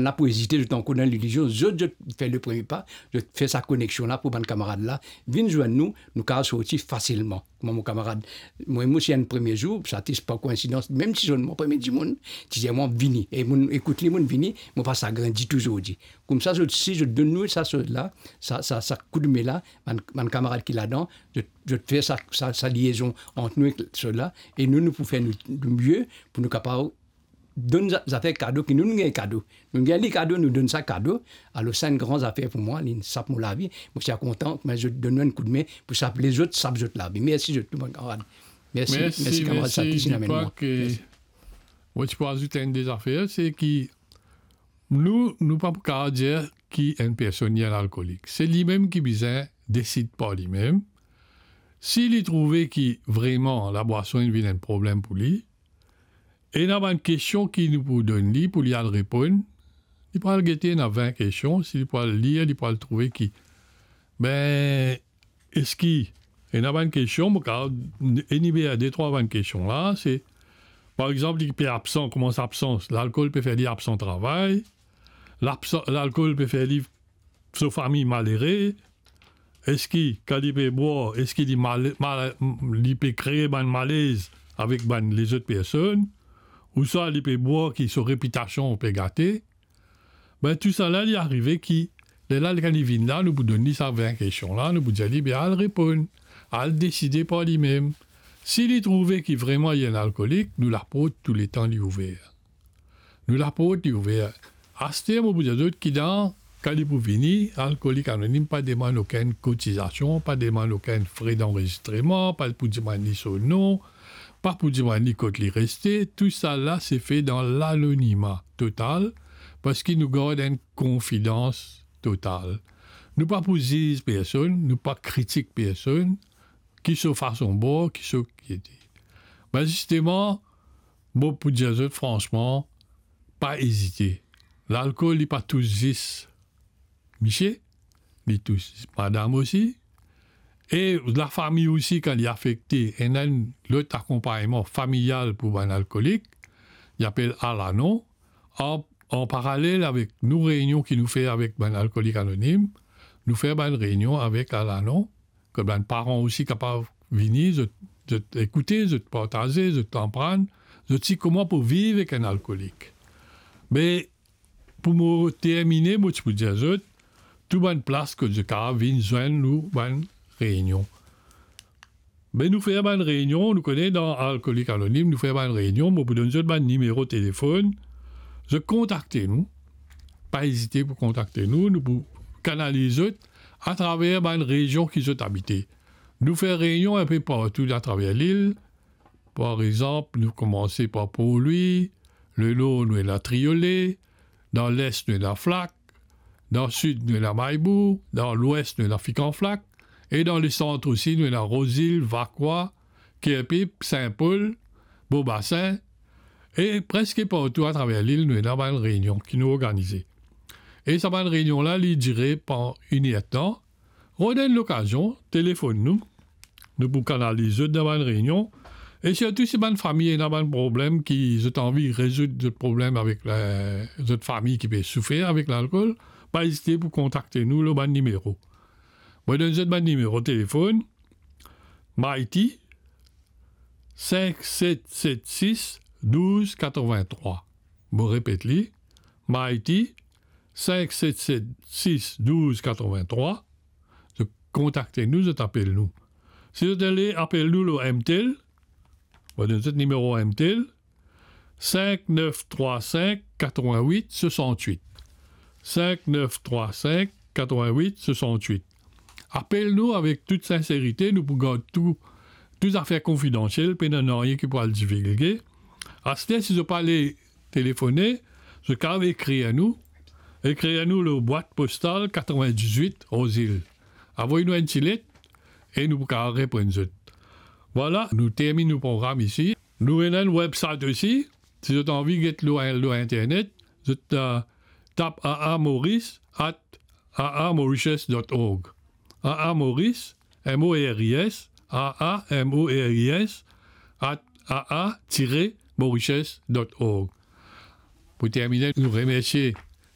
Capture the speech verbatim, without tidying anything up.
la pou ezite, zot ankor dan lilizion, zot, zot fer le premie pa, zot fer sa koneksion la pou bann kamarad la vinn zwenn nou, nou kapav sorti fasilman. Kouma mo kamarad, mwa, mo ti enn premie zour, sa ti pa koinsidans, mem si zot mwa premie dimoun, ti dir mwa vini, e mo'nn ekout li, mo'nn vini, mo pa sagrin ditou zordi. Koumsa zot, si zot donn nou sa soz la, sa, sa, sa koudme la, bann, bann kamarad ki ladan, zot, zot fer sa, sa, sa liezon ant nou ek soz la, e nou, nou pou fer nou, nou mie pou nou kapav donn za-, zafer kado ki nou, nou gagn kado. Nou gagn li kado, nou donn sa kado. Alor, sa enn gran zafer pou mwa, li sap mo lavi. Mo ti a kontan, me zot donn mwa enn koudme pou sap lezot, sap zot lavi. Mersi zot tou, bann kamarad. Mersi, mersi, mersi, kamarad Satis, inn amenn mwa. Mersi. Mo ti pou azout enn de zafer, se ki nou, nou pa pou kapav dir ki enn personn li enn alkolik. Se limem ki bizin desid par limem. Si li trouve ki vreman labwason inn vinn enn problem pou li, ena bann kestion ki nou pou donn li pou li al reponn. Li pou al gete, ena vin kestion, si li pou al lir, li pou al trouve ki, be, eski, ena bann kestion, mo kapav enimer de trwa bann kestion la, se, par exanp, li pe absan, koumans absan, lalkol pe fer li absan travay, labsan-, lalkol pe fer li so fami malere, eski kan li pe bwar, eski li mal-, mal-, li pe kree bann malez avek bann lezot personn, ouswa li pe bwar ki so repitasion pe gate? Be, tou sa la, li arive ki, lerla, kan li vinn la, nou pou donn li sa vin kestion la, nou pou dir li, be, al reponn, al deside par limem. Si li trouve ki vreman li enn alkolik, nou laport touletan li ouver. Nou laport li ouver. Aster, mo pou dir zot ki dan, kan li pou vini, Alkolik Anonim pa demann okenn kotizasion, pa demann okenn fre danrezistreman, pa pou demann li so nom, pa pou demann li kot li reste. Tou sa la, se fe dan lanonima total, parski nou gard enn konfidans total. Nou pa pou ziz personn, nou pa kritik personn, ki so fason bwar, ki so ki ete. Be, zisteman, mo pou dir zot fransman, pa ezite. Lalkol, li pa tous zis misie, li tous madam osi. E lafami osi, kan li afekte, ena enn lot akonpagnman familial pou bann alkolik, li apel Alanon. An, an paralel avek nou reynion ki nou fer avek bann Alkolik Anonim, nou fer bann reynion avek Alanon, kot bann paran osi kapav vini, zot, zot ekoute, zot partaze, zot aprann zot si kouma pou viv ek enn alkolik. Me pou mo termine, mo ti pou dir zot, tou bann plas kot zot kapav vinn zwenn nou bann reynion. Be nou fer bann reynion, nou kone dan Alkolik Anonim, nou fer bann reynion, mo pou donn zot bann nimero telefonn, zot kontakte nou, pa ezite pou kontakte nou, nou pou kanaliz zot atraver bann rezion ki zot abite. Nou fer reynion enpe partou atraver lil. Par exanp, nou koumanse par Port-Louis, le nor nou ena Triolet, dan les nou ena Flak, dan sid nou ena Maybour, dan lwes nou ena Fikanflak, e dan lesant osi nou ena Rose Hill, Vacoas, Kerpip, Sin Pol, Bobasin, e preske partou atraver lil nou ena bann reynion ki nou organize. E sa bann reynion la, li dire pandan inertan. Rod enn lokazion, telefonn nou. Nou pou kanaliz zot dan bann reynion. E sirtou si bann fami ena bann problem ki zot anvi rezoud zot problem avek la, zot fami ki pe soufer avek lalkol, pa ezite pou kontakte nou lor bann nimero. Mo donn zot bann nimero telefonn. Mighty, sink set set sis douz katrovin trwa. Mo repet li, Mighty, sink set set sis douz katrovin trwa. Zot kontakte nou, zot apel nou. Si zot ale apel nou lor M T L, mo donn zot nimero M T L, sink nef trwa sink katrovin wit swasant wit. Sink nef trwa sink katrovin wit swasant wit. Apel nou avek tou sinserite, nou pou gard tou, tou zafer konfidansiel, pena nanye ki pou al divilge. Aster, si zot pa le telefone, zot kapav ekrir nou. Ekrir nou lor bwat postal katrovin-diz-wit, Rose Hill. Avoy nou enn ti let e nou pou kapav reponn zot. Vwala, nou terminn nou program isi. Nou ena enn website osi. Si zot anvi get lor, lor internet, zot, euh, tap A A Maurice at A A Mauritius dot org. A A Maurice, M O R I S, A A M O R I S, at A A tire Mauritius dot org. Pou termine, nou remersie